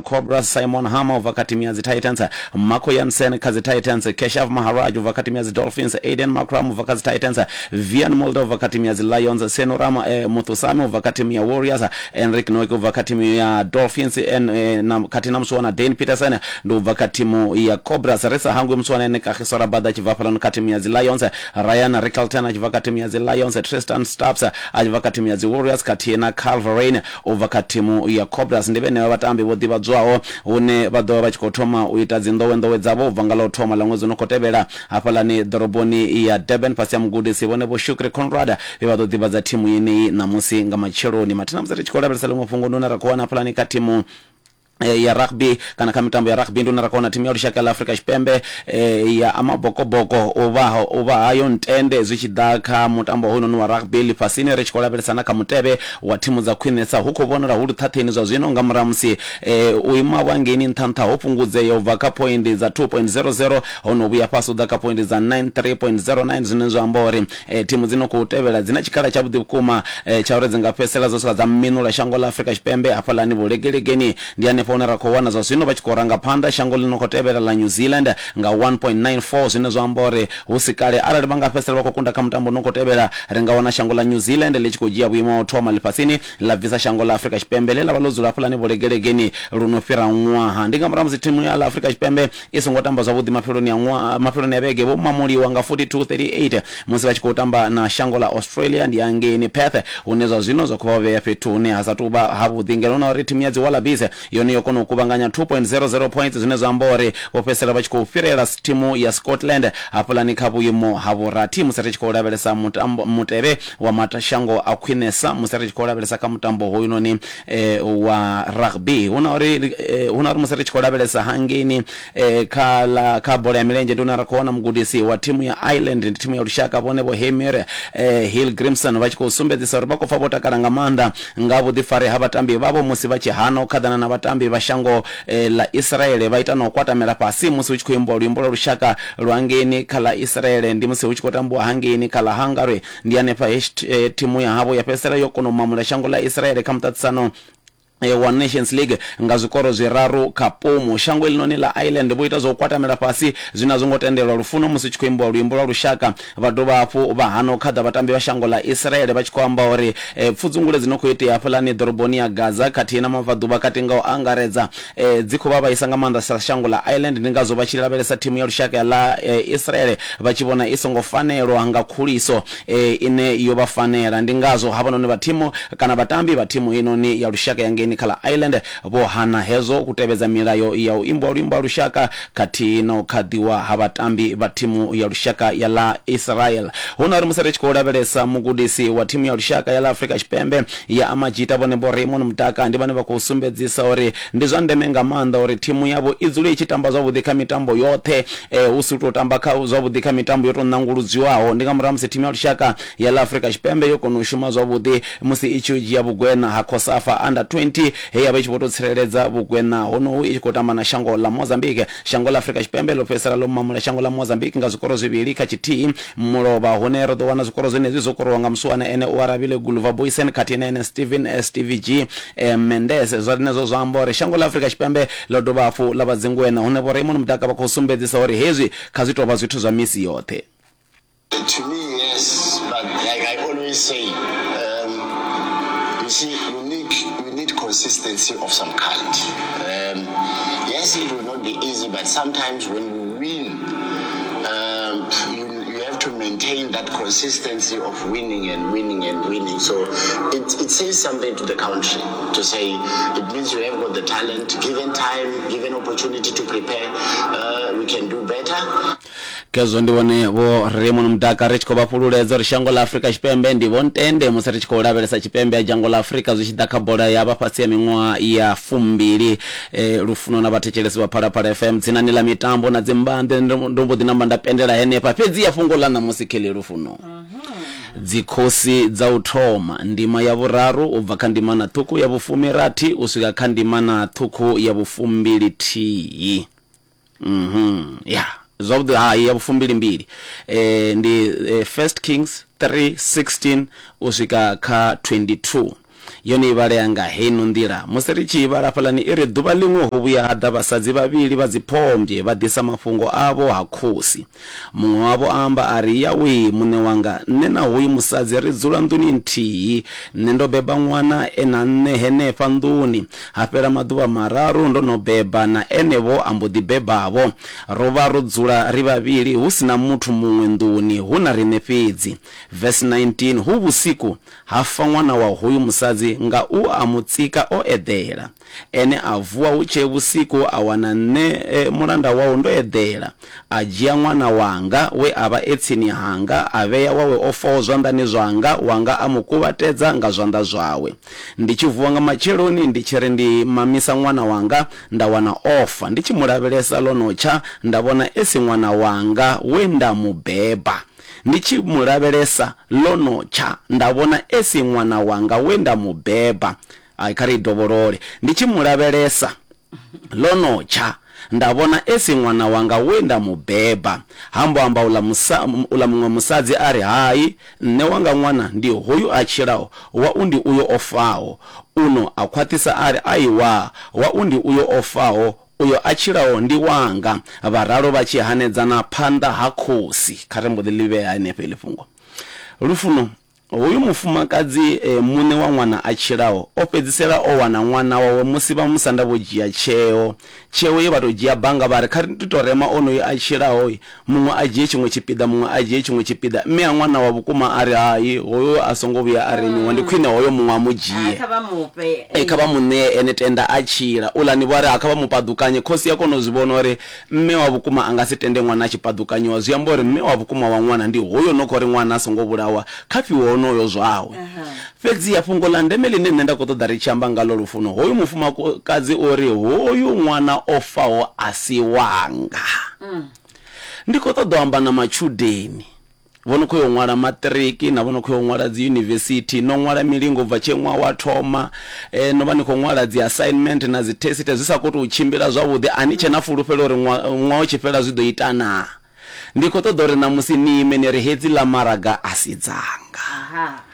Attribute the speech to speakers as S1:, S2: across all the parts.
S1: ya Cobras, Simon Harmer u bva kha thimu ya dzi Titans, Marco Jansen kha dzi Titans, Keshav Maharaj u bva kha thimu ya dzi Dolphins, Aiden Markram u bva kha dzi Titans, Wiaan Mulder u bva kha thimu ya dzi Lions, Senuram Muthusamy u bva kha thimu ya Warriors, Anrich Nortje u bva kha thimu ya Dolphins na khathihi na musiwana Dane Pietersen ndi u bva kha thimu ya Cobras. Ri sa hangwi musiwana ene Kagiso Rabada a tshi bva hafhaḽano kha thimu ya dzi Lions, Ryan Rickelton a tshi bva kha thimu ya dzi Lions, Tristan Stubbs a tshi bva kha thimu ya dzi Warriors khathihi na Kyle Verreynne u bva kha thimu ya Cobras. Ndi vhenevha vhatambi vho ḓivhadzwaho hune vha ḓo vha vha tshi khou thoma u ita dzi nḓowenḓowe dzavho u bva nga ḽa u thoma ḽa ṅwedzi u no khou tevhela hafhaḽani ḓoroboni ya Durban fhasi ha mugudisi Vhone Vho Shukri Conrad vhe vha ḓo ḓivhadza thimu yeneyi ṋamusi nga matsheloni. Mathina musi ri tshi khou lavhelesa ḽiṅwe fhungo ndi hune ra khou wana hafhaḽani kha thimu ya rugby kana kha mitambo ya rugby ndi hune ra khou wana thimu ya lushaka ḽa Afrika Tshipembe ya Amabokoboko u vha u vha hayo ntende zwi tshi ḓa kha mutambo hoyunoni wa rugby ḽifhasini ri tshi khou lavhelesa na kha mutevhe wa thimu dza khwinesa hu khou vhonala hu luṱhaṱheni zwa zwino nga murahu ha musi u ima havho hangeini nṱha nṱha ho fhungudzea u bva kha phoindi dza 2.00 ho no vhuya fhasi u ḓa kha phoindi dza 93.09 zwine zwa amba uri thimu dzi no khou tevhela dzi na tshikhala tshavhuḓi vhukuma tsha uri dzi nga fhedzisela dzo swika dza minula shango ḽa Afrika Tshipembe hafhaḽani vhulegelegeni. Ndi hanefho hune ra khou wana zwa zwino vha tshi khou ranga phanḓa shango ḽi no khou tevhela ḽa New Zealand nga 1.94 zwine zwa amba uri hu si kale arali vha nga fhedzisela vha khou kunda kha mutambo u no khou tevhela ri nga wana shango ḽa New Zealand ḽi tshi khou dzhia vhuimo ha u thoma ḽifhasini ḽa bvisa shango ḽa Afrika Tshipembe ḽe ḽa vha ḽo dzula hafhaḽani vhulegelegeni lu no fhira ṅwaha. Ndi nga murahu ha musi thimu ya ḽa Afrika Tshipembe i songo tamba zwavhuḓi mafheloni a ṅwaha mafheloni a vhege vho mamuliwa nga 42-38 musi vha tshi khou tamba na shango ḽa Australia ndi hangeini Perth hune zwa zwino zwa khou vha vhea fhethu hune ha sa tou vha havhuḓi ngeno na uri thimu ya dzi Wallabies yone yo kona u kuvhanganya 2.00 points zwine zwa amba uri vho fhedzisela vha tshi khou fhirela thimu ya Scotland hafhaḽani kha vhuimo ha vhurathi musi ri tshi khou lavhelesa mutambo mutevhe wa mashango a khwinesa musi ri tshi khou lavhelesa kha mutambo hoyunoni wa rugby. Hu na uri hu na uri musi ri tshi khou lavhelesa hangeini kha ḽa kha bola ya milenzhe ndi hune ra khou wana mugudisi wa thimu ya Ireland ndi thimu ya lushaka vhone vho Heimir Hallgrimsson vha tshi khou sumbedzisa uri vha khou pfa vho takala nga maanḓa nga vhuḓifari ha vhatambi vhavho musi vha tshi hana u khaḓana na vhatambi vha shango ḽa Israele vha ita na u kwatamela fhasi musi hu tshi khou imbiwa luimbo lwa lushaka lwa ngeini kha ḽa Israele ndi musi hu tshi khou tambiwa hangeini kha ḽa Hungary. Ndi hanefha he thimu ya havho ya fhedzisela yo kona u mamula shango ḽa Israele kha muṱaṱisano wa Nations League nga zwikoro zwiraru kha pumu. Shango iḽinoni ḽa Ireland vho ita zwa u kwatamela fhasi zwine a zwo ngo tendelwa lufuno musi hu tshi khou imbiwa luimbo lwa lushaka. Vha dovha hafhu vha hana u khaḓa vhatambi vha shango ḽa Israele vha tshi khou amba uri pfudzungule dzi no khou itea hafhaḽani ḓoroboni ya Gaza khathihi na mabvaḓuvha kati nga u angaredza dzi khou vha vhaisa nga maanḓa sa shango ḽa Ireland. Ndi ngazwo vha tshi lavhelesa thimu ya lushaka ya ḽa Israel vha tshi vhona i songo fanelwa nga khuliso ine yo vha fanela. Ndi ngazwo havhanoni vha thimu kana vhatambi vha thimu heinoni ya lushaka ya ngeini kha ḽa Ireland vho hana hezwo u tevhedza milayo ya u imbiwa luimbo lwa lushaka khathihi na u khaḓiwa ha vhatambi vha thimu ya lushaka ya ḽa Israel. Hu na uri musi ri tshi khou lavhelesa mugudisi wa thimu ya lushaka ya ḽa Afrika Tshipembe ya Amajita vhone Vho Raymond Mdaka ndi vhane vha khou sumbedzisa uri ndi zwa ndeme nga maanḓa uri thimu yavho i dzule i tshi tamba zwavhuḓi kha mitambo yoṱhe hu si u tou tamba kha zwavhuḓi kha mitambo yo tou ṋanguludzwiwaho. Ndi nga murahu ha musi thimu ya lushaka ya ḽa Afrika Tshipembe yo kona u shuma zwavhuḓi musi i tshi yo dzhia vhugweṋa ha COSAFA Under 20 he ya vha i tshi vho tou tsireledza vhugweṋa honohu i tshi khou tamba na shango ḽa Mozambique. Shango ḽa Afrika Tshipembe ḽo fhedzisela ḽo mamula shango ḽa Mozambique nga zwikoro zwivhili kha tshithihi mulovha, hune ro ḓo wana zwikoro zwenezwi zwo korowa nga musiwana ene Oarabile Guluva Booysen khathihi na ene Steven Stevie G Mendes. Zwenezwo zwa amba uri shango ḽa Afrika Tshipembe ḽo dovha hafhu ḽa vha dzingweṋa, hune Vho Raymond Mdaka vha khou sumbedzisa uri hezwi kha zwi tou vha zwithu zwa misi yoṱhe.
S2: To me, yes, but like I always say, you see, you need, you need consistency of some kind. Yes, it will not be easy, but sometimes when you win, you, you have to maintain that consistency of winning and winning and winning. So it, it says something to the country to say it means you have got the talent, given time, given opportunity to prepare, we can do better.
S1: Khezwo ndi vhone Vho Raymond Mdaka ri tshi khou vha fhululedza uri shango ḽa Afrika Tshipembe ndi Vho Ntende musi ri tshi khou lavhelesa tshipembe ha dzhango ḽa Afrika zwi tshi ḓa kha bola ya vha fhasi ha miṅwaha ya fumbili. Lufuno na vhathetshelesi vha Phalaphala FM dzinani ḽa mitambo na dzimbanḓe ndo mbo ḓi namba nda pendela henefha. Fhedzi ya fhungo ḽa ṋamusi kheḽi Lufuno. Dzikhosi dza u thoma, ndima ya vhuraru u bva kha ndimana ṱhukhu ya vhufumirathi u swika kha ndimana ṱhukhu ya vhufumbilithihi. Mhm. Ya, zwavhuḓi hai ya vhufumbilimbili. Eh ndi eh, First Kings 3:16 u swika kha 22. Yone i vhalea nga heino nḓila. Musi ri tshi i vhala hafhaḽani i ri, Ḓuvha ḽiṅwe ho vhuya ha ḓa vhasadzi vhavhili vha dziphombwe vha ḓisa mafhungo avho ha khosi. Muṅwe wavho a amba a ri, Yawee, muṋe wanga, nṋe na hoyu musadzi ri dzula nḓuni nthihi. Nṋe ndo beba ṅwana e na nṋe henefha nḓuni. Ha fhela maḓuvha mararu ndo no beba, na ene-vho a mbo ḓi beba-vho. Ro vha ro dzula ri vhavhili, hu si na muthu muṅwe nḓuni, hu na riṋe fhedzi. Verse 19, Hu vhusiku, ha fa ṅwana wa hoyu musadzi nga u a mu tsika o eḓela. Ene a vuwa hu tshee vhusiku a wana nṋe mulanda wau ndo eḓela, a dzhia ṅwana wanga we a vha e tsini hanga a vhea wawe o faho zwanḓani zwanga, wanga a mu kuvhatedza nga zwanḓa zwawe. Ndi tshi vuwa nga matsheloni ndi tshi ri ndi mamisa ṅwana wanga, nda wana o fa. Ndi tshi mu lavhelesa ḽo no tsha, nda vhona e si ṅwana wanga we nda mu beba. Ndi tshi mu lavhelesa ḽo no tsha, nda vhona e si ṅwana wanga we nda mu beba. Hai, kha ri i dovholole. Ndi tshi mu lavhelesa ḽo no tsha, nda vhona e si ṅwana wanga we nda mu beba. Ha mbo amba uḽa musa, uḽa muṅwe musadzi a ri, Hai, nṋe wanga ṅwana ndi hoyu a tshilaho, wau ndi uyo o faho. Uno a khwaṱhisa a ri, Aiwa, wau ndi uyo o faho, uyo a tshilaho ndi wanga. Vha ralo vha tshi hanedzana phanḓa ha khosi. Kha ri mbo ḓi ḽi vhea henefho heḽi fhungo. Lufuno, Hoyu mufumakadzi muṋe wa ṅwana a tshilaho o fhedzisela o wana ṅwana wawe musi vhamusanda vho dzhia tsheo. Tsheo ye vha tou dzhia banga vha ri kha ri tou rema onoyu a tshilaho, muṅwe a dzhie tshiṅwe tshipiḓa muṅwe a dzhie tshiṅwe tshipiḓa. Mme a ṅwana wa vhukuma a ri hai, hoyo a songo vhuya a remiwa, ndi khwine hoyo muṅwe a mu dzhie.
S3: Kha vha mu fhe.
S1: Ee, kha vha mu ṋee ene tenda a tshila. Uḽani vho a ri ha kha vha mu paḓukanye. Khosi ya kona u zwi vhona uri Mme wa vhukuma a nga si tende ṅwana a tshi paḓukanyiwa. Zwi amba uri mme wa vhukuma wa ṅwana ndi hoyo no khou ri ṅwana a songo vhulawa, kha fhiwe honoyo zwawe. Fhedziha fhungo ḽa ndeme ḽine nṋe nda khou ṱoḓa ri tshi amba ngaḽo lufuno, hoyu mufumakadzi o ri, Hoyu ṅwana o faho a si wanga. Ndi khou ṱoḓa u amba na matshudeni. Vho no khou ya u ṅwala maṱiriki na vho no khou ya u ṅwala dzi yunivesithi, no ṅwala milingo ubva tshe ṅwaha wa thoma, no vha ni khou ṅwala dzi assignment na dzi test zwi sa khou tou tshimbila zwavhuḓi, a ni tshe na fulufhelo uri ṅwaha u tshi fhela zwi ḓo ita naa? Ndi khou ṱoḓa uri ṋamusi ni ime ni ri hedzi ḽa maraga a si dzanga.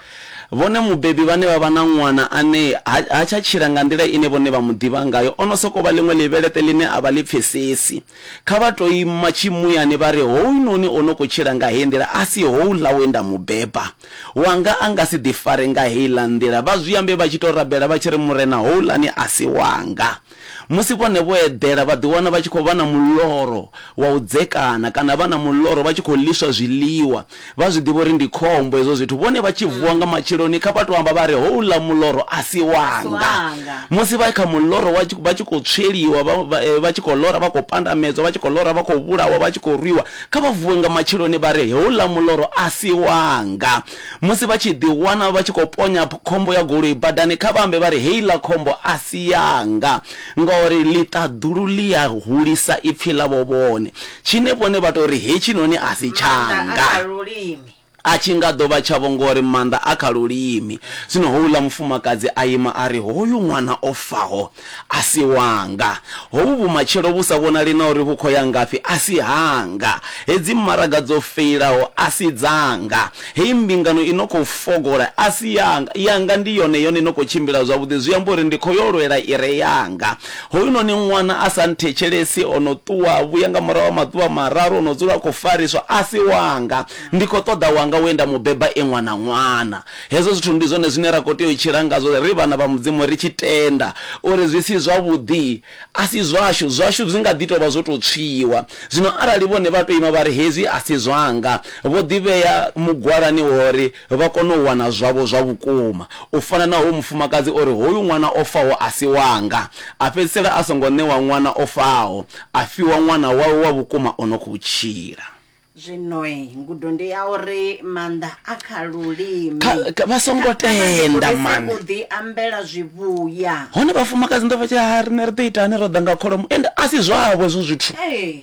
S1: Vhone mubebi vhane vha vha na ṅwana ane ha, ha tsha tshila nga nḓila ine vhone vha mu ḓivha ngayo, o no sokou vha ḽiṅwe ḽivheleṱe ḽine a vha ḽi pfesesi. Kha vha tou ima tshimuyani vha ri, Hounoni o no khou tshila nga heyi nḓila a si houḽa we nda mu beba. Wanga a nga si ḓifare nga heiḽa nḓila. Vha zwi ambe vha tshi tou rabela vha tshi ri, Murena, houḽani a si wanga. Musi vhone vho eḓela vha ḓiwana vha tshi khou vha na muloro wa u dzekana kana vha na muloro vha tshi khou ḽiswa zwiḽiwa. Vha zwi ḓivha uri ndi khombo hezwo zwithu. Vhone vha tshi vuwa nga matsheloni kha vha tou amba vha ri, Houḽa muloro a si wanga. Musi vha kha muloro wa vha tshi khou tsweliwa, vha tshi khou lora vha khou pandamedzwa, vha tshi khou lora vha khou vhulawa, vha tshi khou rwiwa, kha vha vuwe nga matsheloni vha ri, Houḽa muloro a si wanga. Musi vha tshi ḓiwana vha tshi khou ponya khombo ya goloi badani, kha vha ambe vha ri, Heiḽa khombo a si yanga. Ngauri ḽiṱaḓulu ḽi a hulisa ipfi ḽavho vhone. Tshine vhone vha tou ri, Hetshinoni a si
S3: Maanḓa a
S1: tshanga.
S3: kha lulimi.
S1: A tshi nga ḓo vha tshavho ngori maanḓa a kha lulimi. Zwino houḽa mufumakadzi a ima a ri, Hoyu ṅwana o faho a si wanga. Hovhu vhumatshelo vhu sa vhonali na uri vhu khou ya ngafhi a si hanga. Hedzi maraga dzo feilaho a si dzanga. Heyi mbingano i no khou fogola a si yanga. Yanga ndi yone yone i no khou tshimbila zwavhuḓi, zwi amba uri ndi khou yo lwela i re yanga. Hoyunoni ṅwana a sa nthetshelesi o no ṱuwa a vhuya nga murahu ha maḓuvha mararu o no dzula a khou fariswa a si wanga. Ndi khou ṱoḓa wanga we nda mu beba e ṅwana ṅwana. Hezwo zwithu ndi zwone zwine ra khou tea u tshila ngazwo ri vhana vha Mudzimu ri tshi tenda uri zwi si zwavhuḓi a si zwashu, zwashu zwi nga ḓi tou vha zwo tou tswiwa. Zwino arali vhone vha tou ima vha ri hezwi a si zwanga, vho ḓivhea mugwalani wa uri vha kone u wana zwavho zwa vhukuma. U fana na hoyu mufumakadzi o ri, Hoyu ṅwana o faho a si wanga. A fhedzisela a songo ṋewa ṅwana o faho, a fiwa ṅwana wawe wa vhukuma o no khou tshila.
S3: Zwinoi, ngudo ndi ya uri maanḓa a kha lulimi.
S1: Kha, kha, vha songo
S3: Kha, kha vha ḓi
S1: tenda
S3: gudise
S1: mani.
S3: u ḓi ambela zwivhuya.
S1: Hone vhafumakadzi ndo vha tshi ha riṋe ri ḓo ita hani ro ḓa nga kholomo ende a si zwavho hezwo zwithu.
S3: Ee.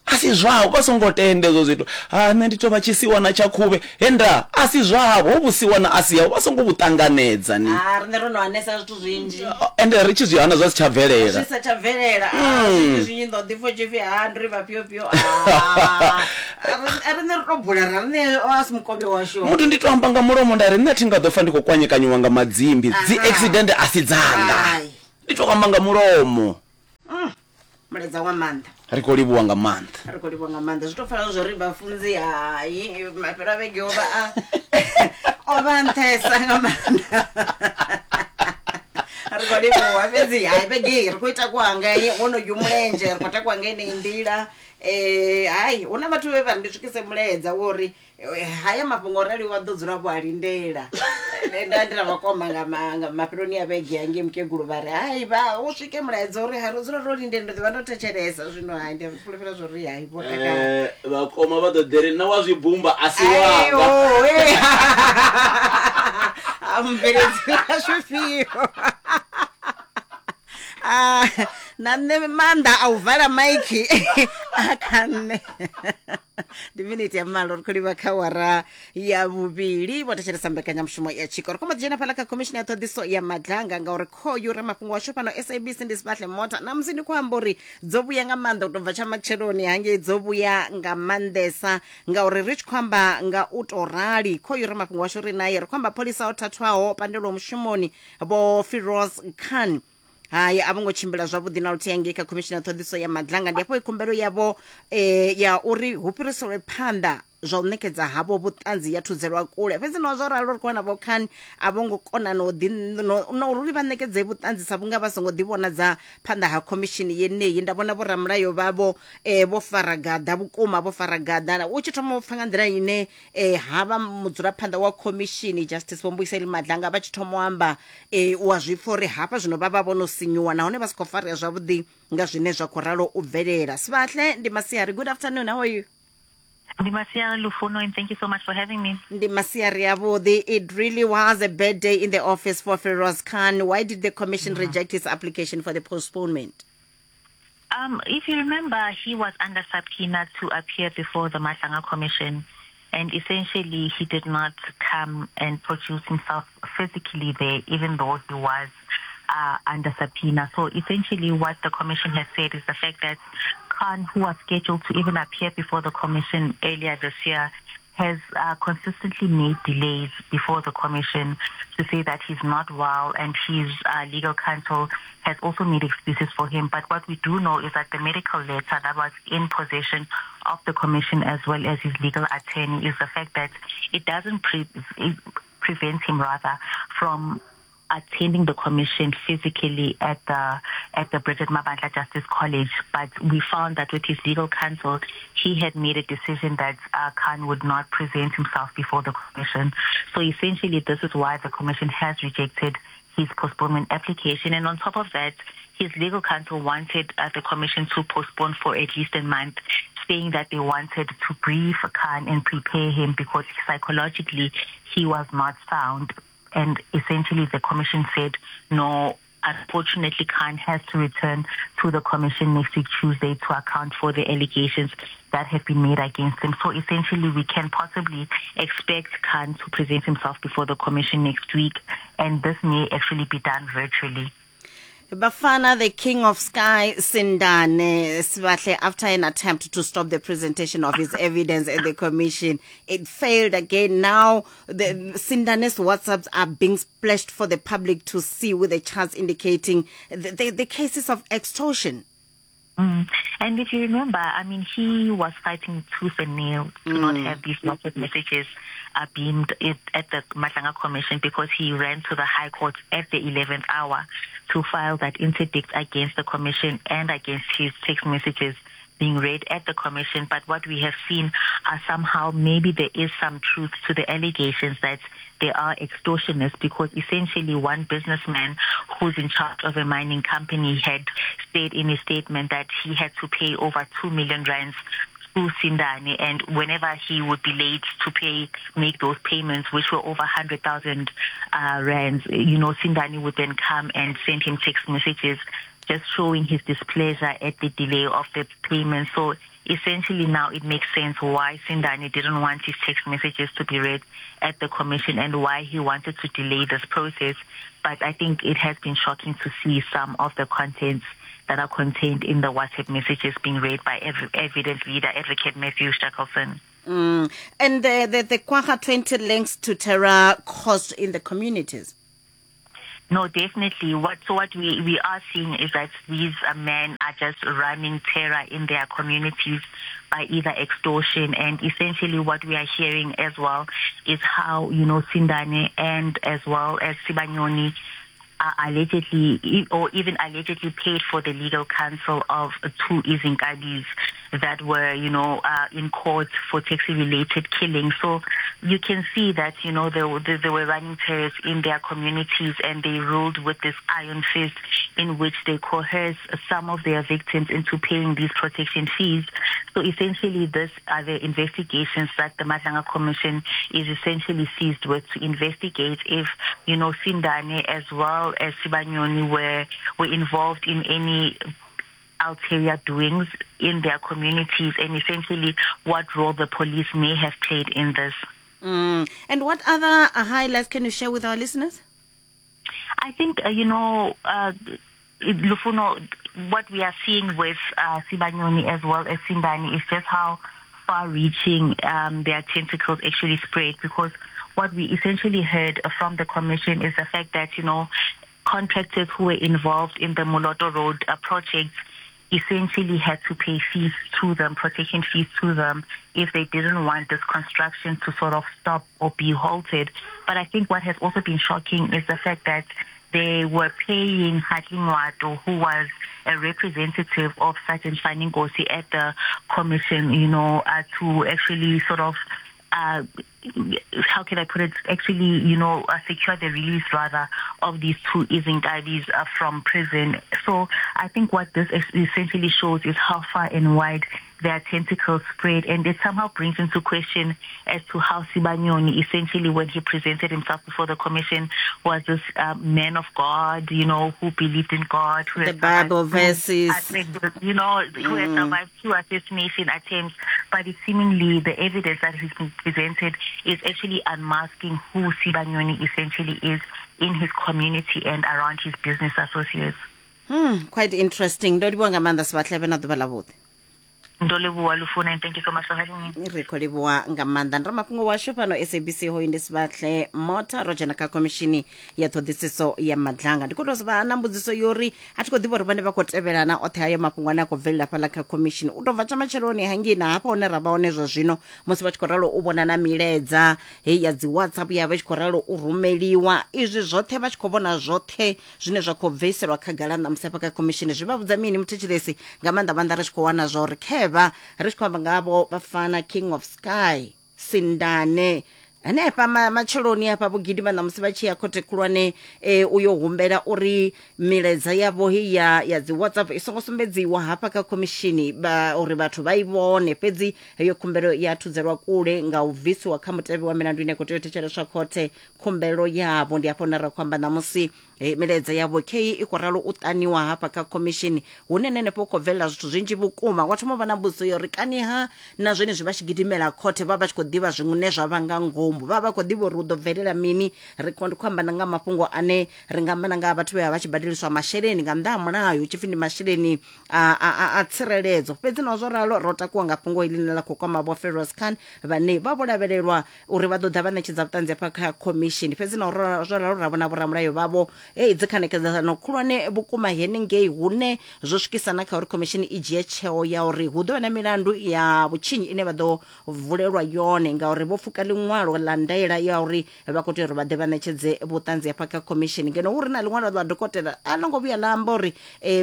S1: A si zwavho, vha songo tenda hezwo zwithu. Ha, nṋe ndi tou vha tshisiwana tsha khuvhe. He nda, a si zwavho, ho vhusiwana a si havho, vha songo vhu ṱanganedza ni.
S3: Ha, riṋe ro no hanesa zwithu zwinzhi.
S1: Ende ri tshi zwi hana zwa si tsha bvelela.
S3: Zwi sa tsha bvelela. Ah, zwinzhi zwinzhi ndo ḓi pfa tshipfi ha ndi ri vhafhio fhio. Ah, riṋe ri tou bula ra riṋe a si mukovhe washu.
S1: Muthu ndi to amba nga mulomo nda ri nṋe thi nga ḓo fa ndi khou kwanyekanyiwa nga madzimbi. Dzi accident a si dzanga.
S3: Hai.
S1: Ndi to amba nga mulomo.
S3: Mulaedza wa maanḓa.
S1: Ri khou livhuwa nga maanḓa.
S3: Ri khou livhuwa nga maanḓa. Zwi tou pfala zwo ri vhafunzi hai mafhelo a vhege o vha a o vha nṱhesa nga maanḓa. Ri khou livhuwa fhedzi hai vhege iyi ri khou i takuwa nga wonoyu mulenzhe ri khou takuwa nga yeneyi nḓila. Hai hu na vhathu vhe vha ri ndi swikise mulaedza wo uri haya mafhungo arali wa ḓo dzula vho a lindela nda ndi na vhakoma nga nga mafheloni a vhege hangei mukegulu vha ri hai vha u swike mulaedza uri hai ro dzula ro lindela ndo ḓivha ndo thetshelesa zwino hai ndi fulufhela zwo ri hai vho takala.
S1: Vhakoma vha ḓo ḓi ri na wa zwi bumba a si wanga.
S3: Mubveledzi wa zwifhio Ah, na nṋe maanḓa a u vala maiki a kha nṋe. Ndi miniti ya malo ri khou livha kha wara ya vhuvhili. Vho thetshelesa mbekanyamushumo ya tshiko. Ri khou mbo ḓi dzhena fhaḽa kha khomishini ya ṱhoḓiso ya madlanga ngauri khoyu ramafhungo washu fhano SABC ndi Sibahle Mota. Na musi ndi khou amba uri dzo vhuya nga maanḓa u tou bva tsha matsheloni hangei, dzo vhuya nga maanḓesa ngauri ri tshi khou amba nga u tou rali khoyu ramafhungo washu ri naye. Ri khou amba pholisa o thathwaho pandelwaho mushumoni Vho Firoz Khan. Hai, a vho ngo tshimbila zwavhuḓi na luthihi ngei kha khomishini ya ṱhoḓiso ya madlanga. Ndi hafho khumbelo yavho ya uri hu fhiriselwe phanḓa zwa u ṋekedza havho vhuṱanzi ya thudzelwa kule. Fhedzi naho zwo ralo ri khou wana vho Khan a vho ngo kona no ḓi no uri vha ṋekedze vhuṱanzi sa vhunga vha songo ḓivhonadza phanḓa ha khomishini yeneyi. Nda vhona vhoramilayo vhavho vho fara gaḓa vhukuma, vho fara gaḓa. U tshi thoma u pfa nga nḓila ine havha mudzulaphanḓa wa khomishini Justice Vho Mbuyiseli Madlanga vha tshi thoma u amba, u a zwi pfa uri hafha zwino vha vha vho no sinyuwa nahone vha si khou farea zwavhuḓi nga zwine zwa khou ralo u bvelela. Sibahle, ndi masiari. Good afternoon, how are you?
S4: Ndi masiari Lufuno, and thank you so much for having me.
S3: Ndi masiari avhuḓi. It really was a bad day in the office for Firoz Khan. Why did the commission reject his application for the postponement?
S4: If you remember, he was under subpoena to appear before the Madlanga Commission, and essentially he did not come and produce himself physically there, even though he was under subpoena. So essentially what the commission has said is the fact that Khan, who was scheduled to even appear before the commission earlier this year, has consistently made delays before the commission to say that he's not well, and his legal counsel has also made excuses for him. But what we do know is that the medical letter that was in possession of the commission, as well as his legal attorney, is the fact that it doesn't it prevent him rather from attending the commission physically at the Bridget Mabandla Justice College. But we found that with his legal counsel, he had made a decision that Khan would not present himself before the commission. So essentially, this is why the commission has rejected his postponement application. And on top of that, his legal counsel wanted the commission to postpone for at least a month, saying that they wanted to brief Khan and prepare him because psychologically he was not sound. And essentially the commission said, no, unfortunately Khan has to return to the commission next week, Tuesday, to account for the allegations that have been made against him. So essentially we can possibly expect Khan to present himself before the commission next week, and this may actually be done virtually.
S3: Bafana, the king of sky, Sindane Sibahle, after an attempt to stop the presentation of his evidence at the commission, it failed again. Now, the Sindane's WhatsApps are being splashed for the public to see, with the charts indicating the cases of extortion.
S4: And if you remember, he was fighting tooth and nail to not have these WhatsApp messages beamed at the Madlanga Commission, because he ran to the High Court at the 11th hour to file that interdict against the Commission and against his text messages being read at the Commission. But what we have seen are somehow maybe there is some truth to the allegations that they are extortionists, because essentially one businessman who's in charge of a mining company had said in his statement that he had to pay over 2 million rands to Sindane, and whenever he would be late to make those payments, which were over 100,000 rands, Sindane would then come and send him text messages just showing his displeasure at the delay of the payment. So essentially now it makes sense why Sindane didn't want his text messages to be read at the commission and why he wanted to delay this process. But I think it has been shocking to see some of the contents that are contained in the WhatsApp messages being read by evidence leader Advocate Matthew Shackleton.
S3: And the Kwagga 20 links to terror caused in the communities.
S4: No, definitely. What we are seeing is that these men are just running terror in their communities by either extortion, and essentially what we are hearing as well is how, you know, Sindane and as well as Sibanyoni are allegedly or even allegedly paid for the legal counsel of two Izinkabis that were, you know, in court for taxi-related killings. So you can see that, you know, they were running terrorists in their communities, and they ruled with this iron fist in which they coerced some of their victims into paying these protection fees. So essentially, these are the investigations that the Madlanga Commission is essentially seized with, to investigate if, you know, Sindane as well as Sibanyoni were involved in any ulterior doings in their communities, and essentially what role the police may have played in this.
S3: And what other highlights can you share with our listeners?
S4: I think, you know, Lufuno, what we are seeing with Sibanyoni as well as Sindane is just how far-reaching their tentacles actually spread, because what we essentially heard from the commission is the fact that, you know, contractors who were involved in the Moloto Road project essentially had to pay fees to them, protection fees to them, if they didn't want this construction to sort of stop or be halted. But I think what has also been shocking is the fact that they were paying Hartley Ngoato, who was a representative of Sergeant Fanny Nkosi at the commission, you know, to actually sort of, how can I put it, actually, you know, secure the release, rather, of these two Izinkabis from prison. So I think what this essentially shows is how far and wide their tentacles spread, and it somehow brings into question as to how Sibanyoni, essentially, when he presented himself before the commission, was this man of God, you know, who believed in God, who
S3: the Bible verses,
S4: you know, who had survived two assassination attempts. But it seemingly the evidence that has been presented is actually unmasking who Sibanyoni essentially is in his community and around his business associates.
S3: Quite interesting. Ndo livhuwa nga maanḓa Sibahle, vhe na ḓuvha ḽa vhuḓi.
S4: Ndo livhuwa Lufuna, and thank you so much for having me.
S3: Ri khou livhuwa nga maanḓa. Ndi ramafhungo washu fhano SABC, hoyu ndi Sibahle Mota, ro dzhena kha khomishini ya ṱhoḓisiso ya Madlanga. Ndi khou tou vha na mbudziso yo uri a thi khou ḓivha uri vhone vha khou tevhelana oṱhe hayo mafhungo ane a khou bvelela fhaḽa kha khomishini, u tou bva tsha matsheloni hangei na hafha hune ra vha hone zwa zwino, musi vha tshi khou ralo u vhona na milaedza heyi ya dzi WhatsApp ya vha tshi khou ralo u rumeliwa, izwi zwoṱhe vha tshi khou vhona zwoṱhe zwine zwa khou bviselwa khagala ṋamusi hafha kha khomishini, zwi vha vhudza mini muthetshelesi? Nga maanḓa maanḓa ri tshi khou wana zwa uri khevha ri tshi khou amba ngavho vhafana King of Sky Sindane hanefha matsheloni hafha vho gidima ṋamusi vha tshi ya khothe khulwane uyo humbela uri milaedza yavho heyi ya dzi WhatsApp i songo sumbedziwa hafha kha khomishini uri vhathu vha i vhone. Fhedzi heyo khumbelo ya thudzelwa kule nga u bvisiwa kha mutevhe wa milandu ine ya khou tea u thetsheleswa khothe khumbelo yavho. Ndi hafho hune ra khou amba ṋamusi milaedza yavho khei i khou ralo u ṱaniwa hafha kha khomishini, hune nenefho khou bvelela zwithu zwinzhi vhukuma. Wa thoma u vha na mbudziso ya uri kaniha na zwenezwi vha tshi gidimela khothe vha vha tshi khou ḓivha zwiṅwe zwa vha nga ngomu, vha vha khou ḓivha uri hu ḓo bvelela mini. Ri khou amba na nga mafhungo ane ri nga amba na nga vhathu vhe vha vha tshi badeliswa masheleni nga nnḓa ha mulayo, hu tshi pfi ndi masheleni a tsireledzo. Fhedzi naho zwo ralo ro takuwa nga fhungo iḽi ḽine ḽa khou kwama vho Feroz Khan, vhane vha vho lavhelelwa uri vha ḓo ḓa vha ṋetshedza vhuṱanzi hafha kha khomishini. Fhedzi naho zwo ralo ra vhona vhoramulayo vhavho dzi khanedzano khulwane vhukuma henengei, hune zwo swikisa na kha uri khomishini i dzhie tsheo ya uri hu ḓo vha na milandu ya vhutshinyi ine vha ḓo vulelwa yone, ngauri vho pfuka ḽiṅwalo ḽa ndaela ya uri vha khou tea uri vha ḓe vha ṋetshedze vhuṱanzi hafha kha khomishini. Ngeno hu ri na ḽiṅwalo ḽa dokotela a ḽo ngo vhuya ḽa amba uri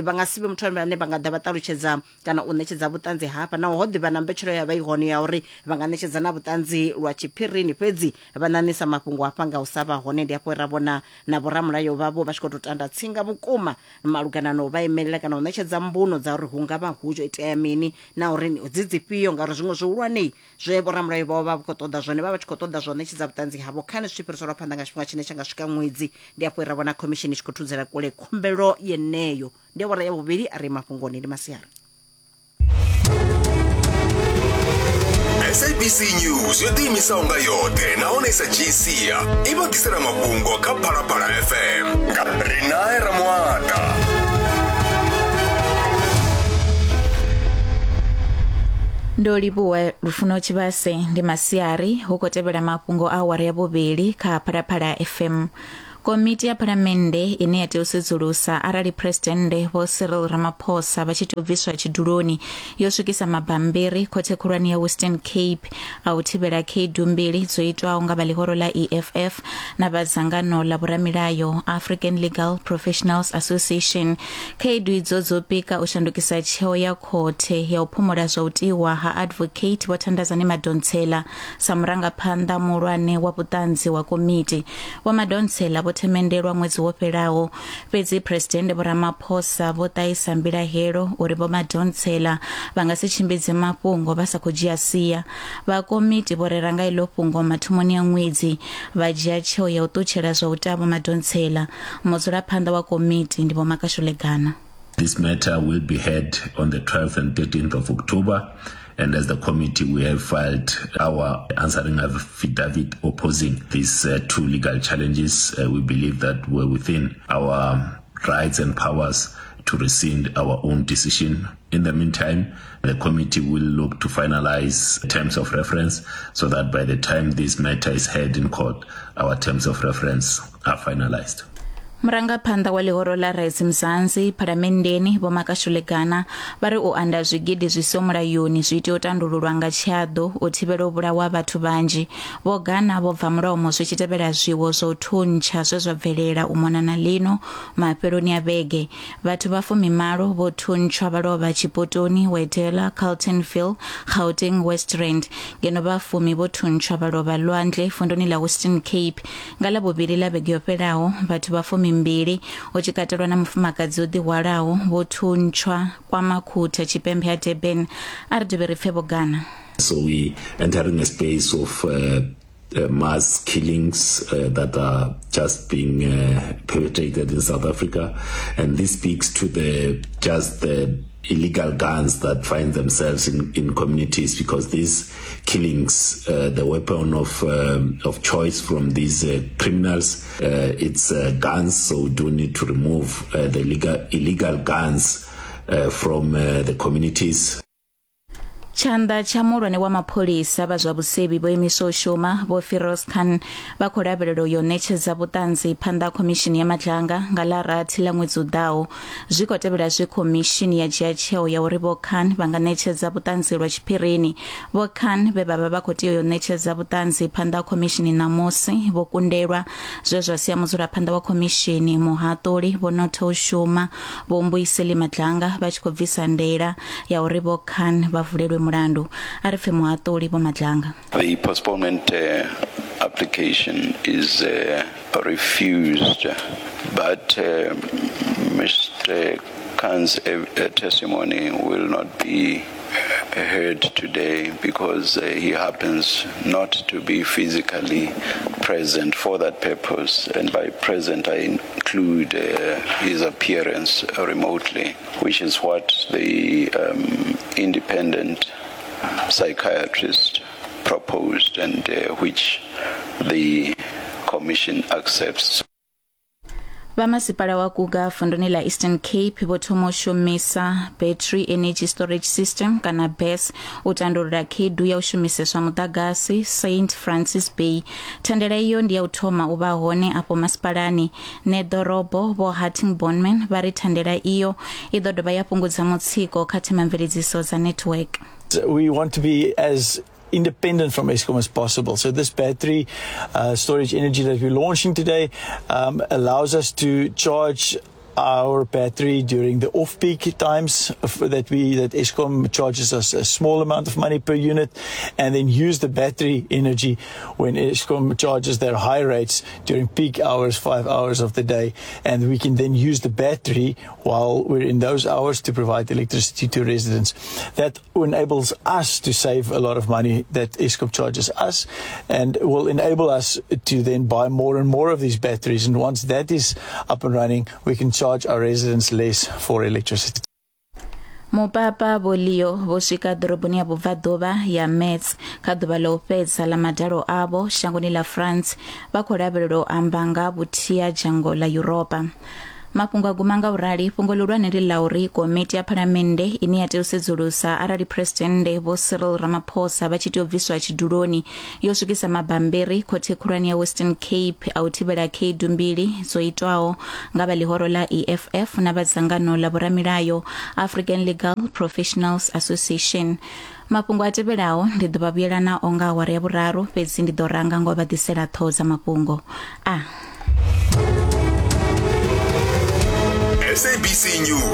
S3: vha nga si vhe muthu ane vha nga ḓa vha ṱalutshedza kana u ṋetshedza vhuṱanzi hafha, naho ho ḓivha na mbetshelo ya vha i hone ya uri vha nga ṋetshedza na vhuṱanzi lwa tshiphirini, fhedzi vha ṋaṋisa mafhungo hafha nga u sa vha hone. Ndi hafho ra vhona na vhoramulayo vhavho vha tshi khou tou tanda tsinga vhukuma malugana na u vha imelela kana u ṋetshedza mbuno dza uri hu nga vha hu itea mini na uri dzi dzifhio, ngauri zwiṅwe zwihulwane zwe vhoramulayo vhavho vha khou ṱoḓa zwone vha vha tshi khou ṱoḓa zwo ṋetshedza vhuṱanzi havho khane zwi tshi fhiriselwa phanḓa nga tshifhinga tshine tsha nga swika ṅwedzi. Ndi hafho ra vhona khomishini i tshi khou thudzela kule khumbelo yeneyo. Ndi awara ya vhuvhili, a ri mafhungoni ndi masiari.
S5: SABC News yo ḓiimisaho nga yoṱhe nahone i sa dzhii sia i vha ḓisela mafhungo kha Phalaphala FM nga Rinae Ramuata.
S6: Ndo livhuwa Lufuno Tshivhase. Ndi masiari hu khou tevhela mafhungo a awara ya vhuvhili kha Phalaphala FM. Komiti ya Phalamennde ine ya tea u sedzulusa arali Phresidennde Vho Cyril Ramaphosa vha tshi tea u bviswa tshiduloni yo swikisa mabambiri khothe khulwane ya Western Cape a u thivhela khaedu mbili dzo itwaho nga vha ḽihoro ḽa EFF na vha dzangano ḽa vhoramilayo African Legal Professionals Association. Khaedu idzo dzo pika u shandukisa tsheo ya khothe ya u phumula zwa u tiwa ha Advocate Vho Thandazani Madonsela sa murangaphanḓa muhulwane wa vhuṱanzi wa komiti. Vho Madonsela vho themendelwa ṅwedzi wo fhelaho, fhedzi Phresidennde Vho Ramaphosa vho ṱahisa mbilahelo uri Vho Madonsela vha nga si tshimbidze mafhungo vha sa khou dzhia sia. Vha komiti vho rera nga iḽo fhungo mathomoni a ṅwedzi, vha dzhia tsheo ya u ṱutshela zwa u ta Vho Madonsela. Mudzulaphanḓa wa komiti ndi Vho Makashule Gana.
S7: This matter will be heard on the 12th and 13th of October. And as the committee, we have filed our answering affidavit opposing these two legal challenges. We believe that we're within our rights and powers to rescind our own decision. In the meantime, the committee will look to finalize terms of reference so that by the time this matter is heard in court, our terms of reference are finalized.
S6: Murangaphanḓa wa ḽihoro ḽa Rise Mzansi Phalamenndeni Vho Makashule Gana vha ri u anda zwigidi zwi siho mulayoni zwi tea u tandululwa nga tshiaḓo u thivhela u vhulawa vhathu vhanzhi. Vho Gana vho bva mulomo zwi tshi tevhela zwiwo zwa u thuntsha zwe zwa bvelela u mona na ḽino mafheloni a vhege. Vhathu vha fumimalo vho thuntshwa vha lovha Tshipotoni, Wedela, Carltonville, Gauteng West Rand, ngeno vha fumi vho thuntshwa vha lovha Lwandle vunduni ḽa Western Cape. Nga Ḽavhuvhili ḽa vhege yo fhelaho, vhathu vha fumimbili, hu tshi katelwa na mufumakadzi o ḓihwalaho, vho thuntshwa KwaMakhutha, tshipembe ha Durban. A ri dovhe ri pfe Vho Gana.
S7: So we entering a space of mass killings that are just being perpetrated in South Africa, and this speaks to the just the illegal guns that find themselves in, in communities, because these killings, the weapon of of choice from these criminals, it's guns. So we do need to remove the illegal, illegal guns from the communities.
S6: Tshanḓa tsha muhulwane wa mapholisa vha zwa vhusevhi vho imiswa u shuma Vho Firoz Khan vha khou lavhelelwa u yo ṋetshedza vhuṱanzi phanḓa ha khomishini ya Madlanga nga ḽa rathi ḽa ṅwedzi u ḓaho. Zwi khou tevhela zwe khomishini ya dzhia tsheo ya uri Vho Khan vha nga ṋetshedza vhuṱanzi lwa tshiphirini. Vho Khan vhe vha vha vha khou tea u yo ṋetshedza vhuṱanzi phanḓa ha khomishini ṋamusi vho kundelwa, zwe zwa sia mudzulaphanḓa wa khomishini muhaṱuli Vho Notho u shuma Vho Mbuyiseli Madlanga vha tshi khou bvisa ndaela ya uri Vho Khan vha vulelwe mulandu. A ri pfe muhaṱuli Vho Madlanga.
S8: The postponement application is refused, but Mr Khan's testimony will not be heard today because he happens not to be physically present for that purpose. And by present, I include his appearance remotely, which is what the independent psychiatrist proposed and which the commission accepts.
S6: Vha masipala wa Guga vunduni ḽa Eastern Cape vho thoma u shumisa Battery Energy Storage System kana BESS u tandulula khaedu ya u shumiseswa muḓagasi St Francis Bay. Thandela iyo ndi ya u thoma u vha hone afho masipalani. Ṋeḓorobo Vho Hattingh Bornman vha ri thandela iyo i ḓo dovha ya fhungudza mutsiko kha themamveledziso dza network.
S9: We want to be as independent from Eskom as possible. So this battery storage energy that we're launching today allows us to charge our battery during the off-peak times that Eskom charges us a small amount of money per unit, and then use the battery energy when Eskom charges their high rates during peak hours, 5 hours of the day, and we can then use the battery while we're in those hours to provide electricity to residents. That enables us to save a lot of money that Eskom charges us, and will enable us to then buy more and more of these batteries. And once that is up and running, we can charge our residents less for electricity.
S6: Mupapa Vho Leo vho swika ḓoroboni ya vhubvaḓuvha ya Metz kha ḓuvha ḽa u fhedza ḽa madalo avho shangoni ḽa France, vha khou lavhelelwa u amba nga vhuthihi ha dzhango ḽa Yuropa. Mafhungo a guma nga u rali, fhungo ḽihulwane ndi ḽa uri komiti ya phalamennde ine ya tea u sedzulusa arali Phresidennde Vho Cyril Ramaphosa vha tshi tea u bviswa tshiduloni yo swikisa mabambiri khothe khulwane ya Western Cape a u thivhela khaedu mbili dzo itwaho nga vha ḽihoro ḽa EFF na vha dzangano ḽa vhoramilayo African Legal Professionals Association. Mafhungo a tevhelaho ndi ḓo vha vhuyela nao nga awara ya vhuraru, fhedzi ndi ḓo ranga ngo vha ḓisela ṱhoho dza mafhungo a.
S5: SABC News.